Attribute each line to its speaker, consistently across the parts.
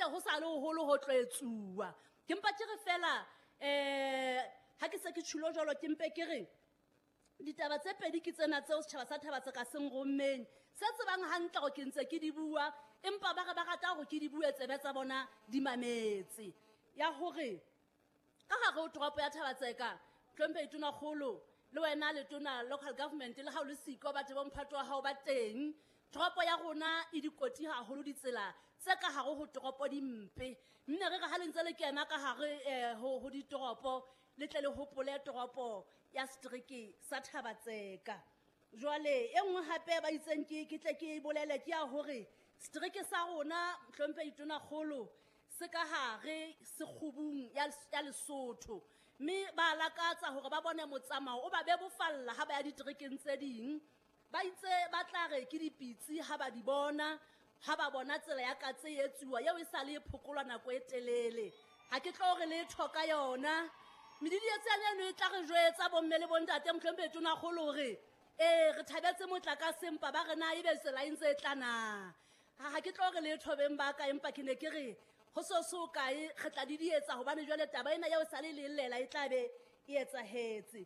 Speaker 1: Ntse ho sa le hoholo ho tlo etsuwa. Ke mpa ke re fela ha ke se ke tjhulo jwalo, ke mpe ke re ditaba tse pedi ke tsena tseo setjhaba sa Thaba-Tseka se nrommeng, se tsebang hantle hore ke ntse ke di bua, empa ba re ba rata hore ke di bue tsebe tsa bona di mametse. Ya hore ka hare ho toropo ya Thaba-Tseka, Hlomphehi Tonakgolo, le wena letona local government, le ha o le siko batho bo mphato wa hao ba teng. Toropo ya rona e dikoti haholo, ditsela tse ka hare ho toropo di mpe. Mme re re ha le ntse le kena ka hare ho ditoropo, le tle le hopole toropo ya setereke sa Thaba-Tseka. Jwale e nngwe hape ba itseng ke tle ke bolele ke ya hore setereke sa rona, Hlomphehi Tonakgolo, se ka hare sekgubung ya Lesotho. Mme ba lakatsa hore ba bone motsamao o ba bebofalla ha ba ya diterekeng tse ding. Ba itse ba tla re ke dipitsi ha ba di bona, ha ba bona tsela ya katse e etsuwa eo e sa le e phokolwa nako e telele. Ha ke tlo re letho ka yona. Medidietsi eno e tla re jwetsa bomme le bontate, Mohlomphehi Tonakgolo, hore re thabetse motlakase empa ba re na ebe tsela e ntse e tla na. Ha ke tlo re letho beng ba ka, empa ke ne ke re ho so so kae re tla didietsa hobane jwale taba ena eo sa le lellela e tla be e etsahetse.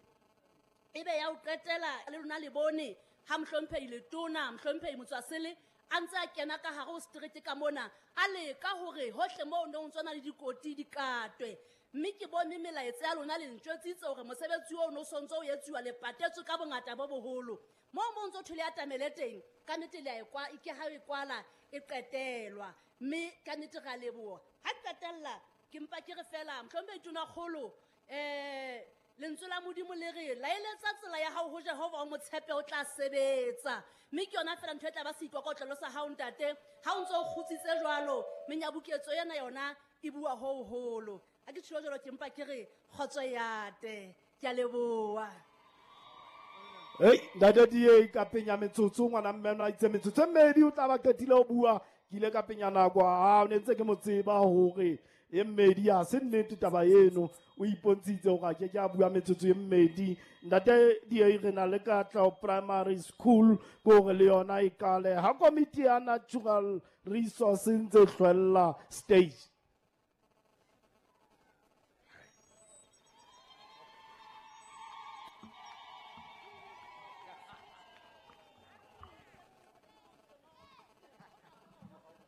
Speaker 1: Ebe ya ho qetela le lona le bone ha Mohlomphehi Letona, Mohlomphehi Motswasele a ntse a kena ka hare ho setereke ka mona, a leka hore hohle moo no ntso na le dikoti di katwe. Mme ke bone melaetsa ya lona le ntjwetsitse hore mosebetsi oo no sontso o etsuwa le patetswe ka bongata bo boholo. Moo mo ntso thole atamele teng, ka nnete le a e kwa, ke ha e kwala e qetelwa. Mme ka nnete ra leboha. Ha ke qetella, ke mpa ke re fela, Mohlomphehi Tonakgolo, lentswe la Modimo le re laeletsa tsela ya hao ho Jehova, o mo tshepe, o tla sebetsa. Mme ke yona fela ntho e tla ba seikokotlelo sa hao ntate. Ha o ntso o kgutsitse jwalo, menyabuketso ena yona e bua ho hoholo. Ha ke tjho jwalo, ke mpa ke re kgotso ya te. Ke a leboha.
Speaker 2: Hey, ntate Die, ka penya metsotso, ngwana mme a itse metsotso e mmedi o tla ba qetile ho bua. Ke ile ka penya nako, ha o ne ntse ke mo tseba hore e mmedi ha se nnete taba eno. O ipontshitse hore a ke ke a bua metsotso e mmedi. Ntate Die, re na le Katleho Primary School, ke hore le yona e kale. Ha komiti ya Natural Resource ntse hlwella stage.